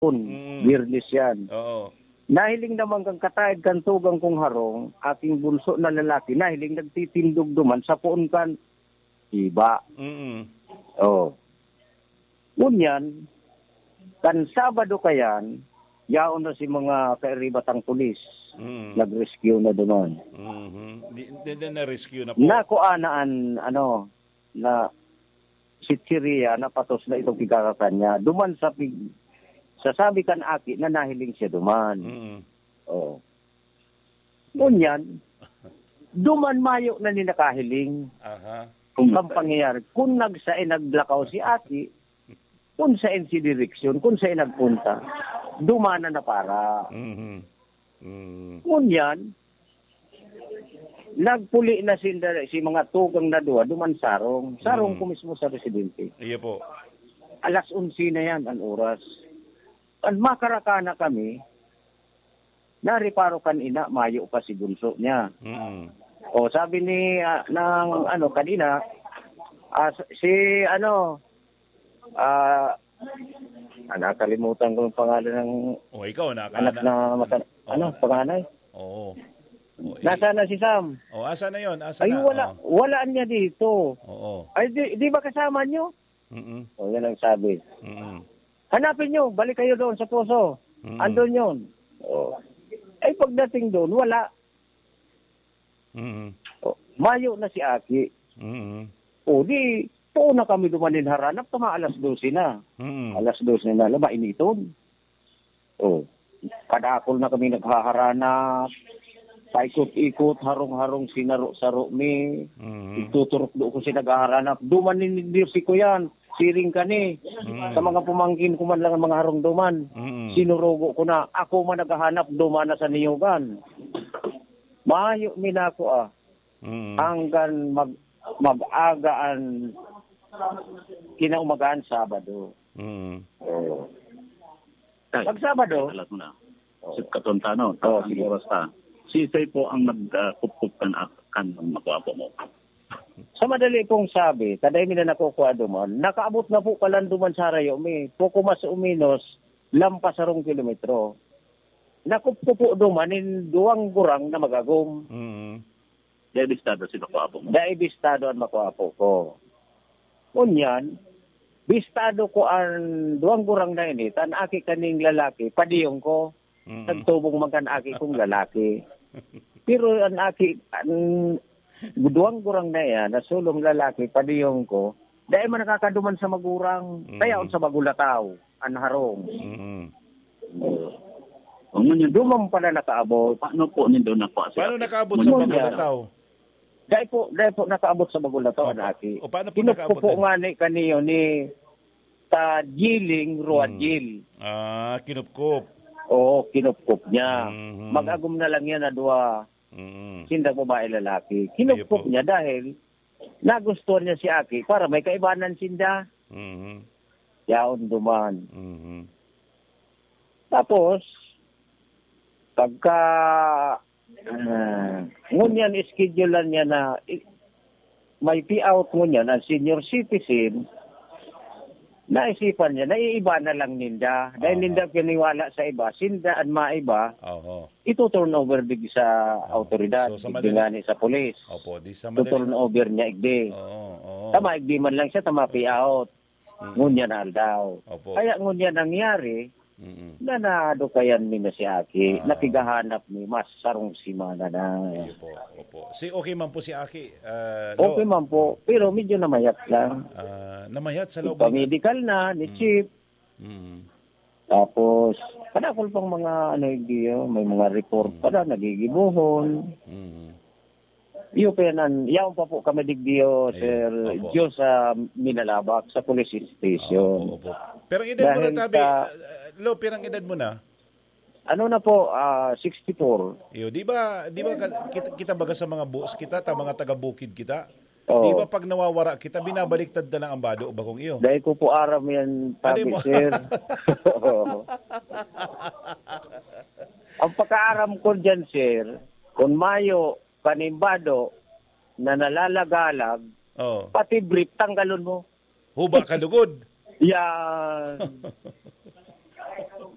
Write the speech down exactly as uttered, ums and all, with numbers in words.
Kun, Mm. Biyernes yan. Oo. Nahiling naman kan kataed kan tugang kong harong, aking bunso na lalaki, nahiling nagtitindog duman sa poon kan iba. Mm. Oh. Ngunyan, kan Sabado kayan, yaon na si mga kairibatang pulis. Mm. Nag-rescue na duman. Mhm. Di, di, di na-rescue na po. Nakuha na an, ano, na chichirya na patos na itong kikakakan niya. Duman sa pig-, sa sabi kan aki na nahiling siya duman. Mm. Oh. Ngunyan, duman mayo na ni nakahiling Aha. Kung ang pangyayari, kung nagsain naglakaw si aki, kung sain si direksyon, kung sain nagpunta, duman na para. Mhm. Mm. Ngunyan, nagpuli na sinda, si mga tugang na duwa, duman sarong. Sarong Mm. ko mismo sa residente. Iyo po. Alas onse na yan, ang oras. Kan makaraka na kami, nareparo kan ina, mayo pa si bunso niya. Mm. O, sabi ni, ah, ng, ano, kanina, ah, si, ano, ah, ah, nakalimutan ko yung pangalan ng O, ikaw, naka-, anak na- na mata-, O. ano, panganay? Oo. O, eh. Nasaan na si Sam? O, asa na yon? Asa Ay, na? wala. O. Wala niya dito. Oo. Ay, di, di ba kasama niyo? Mm-mm. O, yan ang sabi. Mm-mm. "Hanapin niyo, balik kayo doon sa poso. Mm-mm. Andun yun." O. Ay, pagdating doon, wala. Mm-mm. O, mayo na si Aki. Mm-mm. O, di, tuon na kami duman nin haranap, tama alas dose na. Mm-mm. Alas dose na, laba, initon. O, kadakul na kami naghaharanap. Paikot-ikot, harong-harong, sinaro-saro mi. Mm. Ituturok do ko si naghaharanap. Duman nin Dios si Kuyan, siring kani. Mm. Sa mga pumangkin ko man lang ang mga harong duman. Mm. Sinurugo ko na. Ako man naghahanap, duman na sa niyugan. Mayo mi nako, ah. Mm. Hanggang mag-, mag-aga an kinaumagahan, Sabado. Mm. Oo. Tay, Pag Sabado, alat mo na. Oo. Sa katontanon, Oo, ang sige. oras ta. Si Isay po ang nag, ah, kupkup kan ak-, kan mga gwapo mo. Sa madali pong sabi, kada mi na nakukuha duman, nakaabot na po palan duman sa harayo mi. Poko mas o menos, lampas sarong kilometro. Nakupkup po duman nin duwang gurang na magagom. Mm. Dai bistado si Makuapo mo. Dai bistado an Makuapo ko. Ngunyan, bistado ko an duwang gurang na ini, ta an aki kaning lalaki, padiyong ko. Mm. Nagtubong man kan aki kong lalaki. Pero an aki, an duwang gurang na iyan, na sulong lalaki, padiyong ko, dai man nakakaduman sa magurang. Mm. Kaya on sa Bagulataw, an harong. Mm. Ang ngunyan, Duman pala nakaabot. Paano po nindo nakuha siya? Paano nakaabot sa Ngunyan. Bagulataw? Dai po, dai po nakaabot sa Bagulataw, Opa. an aki. O, paano po Kinupkup nakaabot po yan? nga ni kaniyo ni ta Jiling Ruadjil. Hmm. Ah, kinupkup. Oo, kinupkup niya. Mhm. Mag-agom na lang yan na duwa. Mhm. Sindang babae, lalaki. Iyo Kinupkup po. niya dahil nagustuhan niya si aki para may kaibanan sinda. Mhm. Yaon duman. Mhm. Tapos, pagka, ah, ngunyan, schedulean niya na i-, may payout ngunyan, ang senior citizen, naisipan niya, naiiba na lang ninda. Dahil Aha. ninda piniwala sa iba, sinda an maiba, Oho. ito-turn over digdi sa Oho. autoridad, So, sa digdi madali- ngani sa pulis. Opo, di sa madali- To-turn over niya, igdi. Oo, oo. Tama, igdi man lang siya, tama, payout. Mm. Ngunyan na aldaw. Opo. Kaya ngunyan nangyari, Mm. na nadukayan mi na si Aki, Ah. nakigahanap mi, mas sarong semana na. Iyo po, opo. Si, okay man po si Aki, ah, Lo? Okay man po, pero medyo namayat lang. Ah, namayat sa loob ng Ipamedical na, ni Mm. Chief. Mm. Tapos, kadakol pang mga, ano, igdi, oh, may mga report Mm. pa na, nagigibohon. Mm. Iyo pa yan, an-, yaon pa po kami digdiyo, Ayun, Sir opo. Diyos, sa Minalabak, sa police station. Opo, opo. Pero ang edad mo na, Dahil tabi, sa ah, Lo, pirang edad mo na? Ano na po, ah, sixty-four. Iyo, di ba, di ba ka-, kita, kita baga sa mga boss kita, ta mga taga-bukid kita? Oo. Di ba pag nawawara kita, binabaliktad na lang ang bado, bakong iyo? Dahil ko po aram yan, Ano tabi, mo? sir. Oo. Ang pagkaaram ko dyan, sir, kung mayo, kanimbado na nalalagalag, Oo. pati brief, tanggalon mo. Huba ka lugod. Yan.